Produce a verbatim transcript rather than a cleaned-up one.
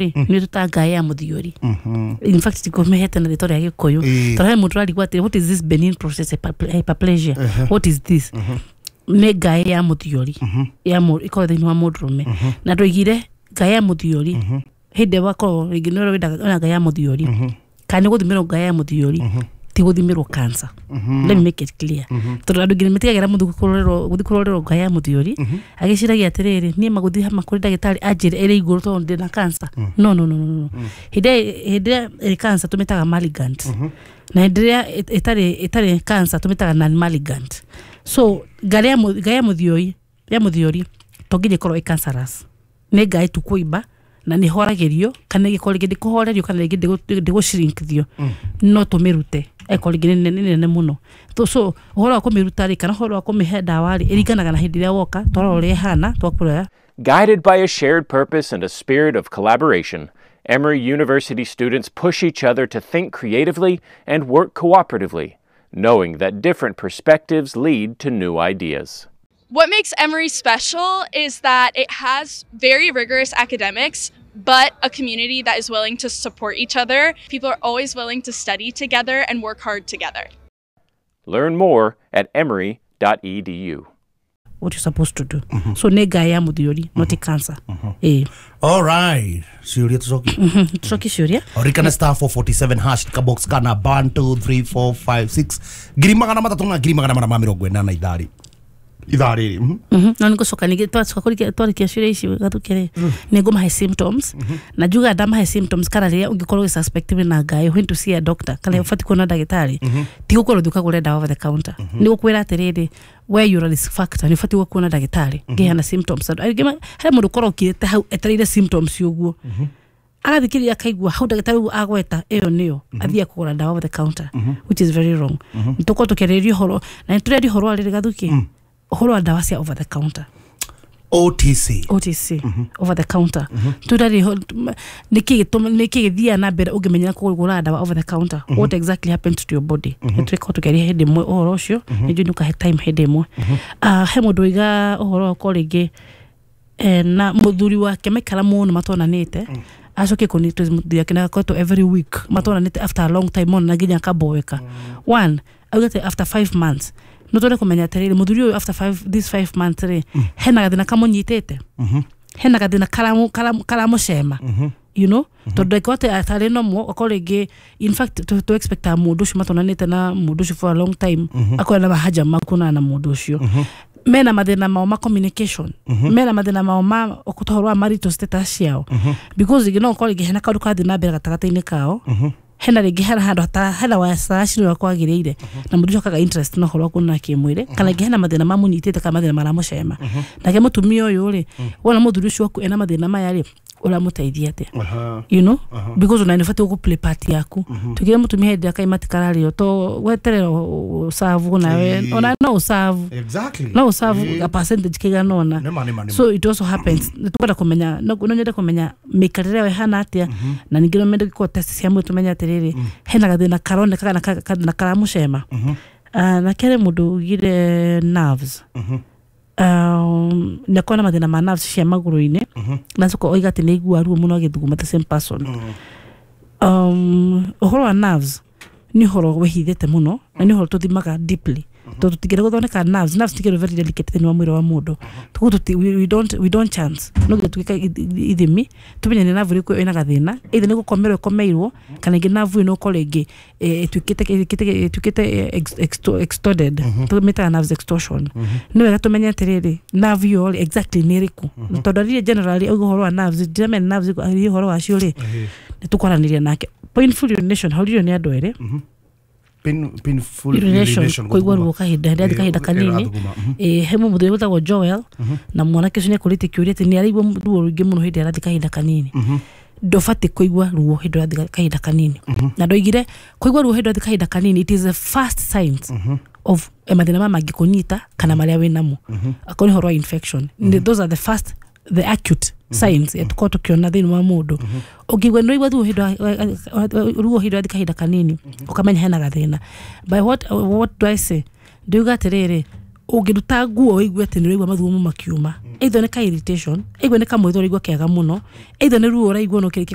Rĩ nĩ tũta ngaĩ ya mũthiori. In fact, tikomehete na rĩtwa rĩa Gĩkũyũ, Ĩĩ. tondũ he mũndũ ũrarigwo atĩrĩ, "What is this benign prostate hyperpl- hyperplasia What is this?" Nĩ ngaĩ ya mũthiori ya mũ- ĩkoragwo thĩinĩ wa mũndũrũme, na ndoigire ngaĩ ya mũthiori hĩndĩ ĩrĩa wakorwo rĩngĩ nĩ ũrenda wĩna ngaĩ ya mũthiori kana nĩ gũthimĩrwo ngaĩ ya mũthiori, ti gũthimĩrwo cancer. Let me make it clear, tondũ andũ nginya matigagĩra mũndũ kũrorerwo gũthiĩ kũrorerwo ngaĩ ya mũthiori agĩciragia atĩrĩrĩ, niĩ magũthiĩ hama kũrĩ ndagĩtarĩ anjĩre ĩrĩ igũrũ tondũ ndĩna cancer. No, no, no, no, no. Hĩndĩ ĩrĩa hĩndĩ ĩrĩa ĩrĩ cancer tũmĩtaga malignant, na hĩndĩ ĩrĩa ĩtarĩ ĩtarĩ cancer tũmĩtaga non malignant. So ngaĩ ya mũ- ngaĩ ya mũthiori ya mũthiori to nginya ĩkorwo ĩ cancerous. Nĩ ngaĩ tu kũimba na nĩ horagĩrio, kana ĩgĩkorwo rĩngĩ ndĩkũhorerio, kana rĩngĩ ndĩgũ- ndĩgũshrinkithio, no tũmĩrute ĩkorwo rĩngĩ nĩ nĩ nene mũno. So- so ũhoro wa kũmĩruta rĩ, kana ũhoro wa kũmĩhe ndawa rĩ, ĩringanaga na hĩndĩ ĩrĩa woka twarora ũrĩa ĩhana twakũrora. Guided by a shared purpose and a spirit of collaboration, Emory University students push each other to think creatively and work cooperatively, knowing that different perspectives lead to new ideas. What makes Emory special is that it has very rigorous academics, but a community that is willing to support each other. People are always willing to study together and work hard together. Learn more at emory dot e d u. What you're supposed to do. So nĩ ngaĩ ya mũthiori, not cancer, ĩĩ. Alright, ciũria tũcokie. Tũcokie ciũria. Orikana star four forty-seven hash, kabox kana one two three four five six, ngiri magana matatũ na ngiri magana mana ma mĩrongo ĩnana itharĩ ithaa rĩrĩ. Mhm. Mhm. No nĩngũcoka ningĩ twacoka kũrĩkia twarĩkia ciũria ici gathuke rĩ, nĩngũmahe symptoms, na njuga ndamahe symptoms kana rĩrĩa ũngĩkorwo ũgĩ-suspect wĩna ngaĩ, when to see a doctor, kana ũbatiĩ kuona ndagĩtarĩ, ti gũkorwo ũthiĩ ũkagũre ndawa over the counter. Nĩ gũkwĩra atĩrĩrĩ, we you're a risk factor, nĩ ũbatiĩ kuona ndagĩtarĩ ngĩheana symptoms. Andũ aingĩ ma- he mũndũ ũkorwo ũkirĩte hau etereire symptoms ũguo, agathikĩrĩria akaigua hau ndagĩtarĩ ũguo agweta ĩyo nĩyo athiĩ kũgũra ndawa over the counter, which is very wrong. Nĩ tũkorwo tũkĩarĩrĩria ũhoro na nĩ tũrĩaria ũhoro wa rĩrĩ gathuki, ũhoro wa ndawa cia over the counter. O T C. O T C, over the counter. Tũrarĩ nĩkĩ gĩtũma, nĩkĩ gĩthiaga na mbere ũngĩmenyera kũgũra ndawa over the counter? What exactly happens to your body? Nĩ tũrĩkorwo tũkĩaria hĩndĩ ĩmwe ũhoro ũcio, nĩ njũĩ nĩ ũkahe time hĩndĩ ĩmwe. Ah, he mũndũ ũiga ũhoro wa ũkorwo rĩngĩ eh, na mũthuri wake maikara mũno matonanĩte, acoke kũnitwo mũthuri wake na akoretwo every week matonanĩte, after a long time mona nginya akaboeka one augĩte after five months. No twende kũmenya atĩrĩrĩ, mũthuri ũyũ after five, this five months rĩ, hena gathĩna kamũnyitĩte, hena gathĩna karamu- karamu- karamũcema you know tondũ angĩkorwo atĩ atarĩ nomo, akorwo rĩngĩ, in fact, tũ tũ expectaga mũndũ ũcio matonanĩte na mũndũ ũcio for a long time akorwo na mahaja ma kuonana na mũndũ ũcio, mena mathĩna mao ma communication, mena mathĩna mao ma ũhoro wa marital status ciao, because rĩngĩ no ũkorwo rĩngĩ hena kaũndũ karathiĩ na mbere gatagatĩ-inĩ kao, hena rĩngĩ hena handũ hata hena wacaracirwo ũrĩa kwagĩrĩire na mũndũ ũcio akaga interest na ũhoro wa kuonana kĩmwĩrĩ, kana rĩngĩ hena mathĩna mamũnyitĩte kana mathĩna maramũcema. Nake mũtumia ũyũ rĩ, wona mũthuri ũcio waku ena mathĩna maya rĩ, ũramũteithia atĩa? you know because ona nĩ ũbatiĩ gũ play part yaku. Tugire mũtumia hĩndĩ ĩrĩa kaima tikararĩo to weterera ũcabu nawe. Ĩĩ. Ona no ũcabu. Exactly No ũcabu a percentage kĩigana ũna. Nĩma, nĩma, nĩma. So it also happens nĩ tũkwenda kũmenya, no no nyende kũmenya mĩikarĩre yao ĩhana atĩa, na ningĩ no mende gũkorwo test cia mwĩrĩ tũmenye atĩrĩrĩ, hena gathĩna karoneka kana ka- gathĩna karamũcema. Ah, na kerĩ, mũndũ ugire nerves, um, nĩ akorwo na mathĩna ma nerves cia magũrũ-inĩ, na acoka oiga atĩ nĩ aigua ruo mũno agĩthuguma, the same person. um, ũhoro wa nerves nĩ ũhoro wĩhithĩte mũno na nĩ ũhoro tũthimaga deeply, tondũ tũtingĩenda gũthondeka nerves. Nerves ti kĩndũ very delicate thĩinĩ wa mwĩrĩ wa mũndũ. Koguo tũti- we, we don't, we don't chance. No nginya twĩke ithi- ithimi tũmenye nĩ nerve ĩrĩkũ ĩna gathĩna, either nĩ gũkomerwo ĩkomeirwo, kana ĩngĩ nerve ĩno ũkorwo rĩngĩ eh, ĩtuĩkĩte ĩtuĩkĩte ĩtuĩkĩte eh, ex- exto- extorted, tũmĩtaga nerves extortion. Nĩ wega tũmenye atĩrĩrĩ, nerve ĩyo rĩ, exactly nĩ ĩrĩkũ, tondũ aririe generally auga ũhoro wa nerves, ndiramenya nerves aririe ũhoro wacio rĩ, nĩ tũkwaranĩria nake. Painful urination hauririo nĩ andũ erĩ. Pain, painful urination, kũigua ruo kahinda hĩndĩ Ĩĩ, kahinda kanini. ĩrathuguma, mhm. Ĩĩ, he mũthuri wĩtagwo Joel na mwanake ũcio nĩ akũrĩtie kĩũria atĩ nĩ araigua ruo rũingĩ mũno hĩndĩ ĩrĩa arathiĩ kahinda kanini. Ndũbatiĩ kũigua ruo hĩndĩ ũrathiĩ kahinda kanini, na ndoigire kũigua ruo hĩndĩ ũrathiĩ kahinda kanini, it is the first signs of eh, mathĩna maya mangĩkũnyita kana marĩa wĩ namo, akorwo nĩ ũhoro wa infection. mm those are the first, the acute signs mm tũkorwo tũkĩona thĩinĩ wa mũndũ. Ũngĩigua nĩ waigua ruo hĩndĩ wa- ruo hĩndĩ ũrathiĩ kahinda kanini, ũkamenya hena gathĩna. By what, what do I say? Ndiuga atĩrĩrĩ, Ũngĩruta nguo ũigue atĩ nĩ ũraigua mathugumo makiuma, either nĩ ka irritation, either nĩ kamwĩthũ ũraigua kega mũno, either nĩ ruo ũraigua no kĩrĩkia.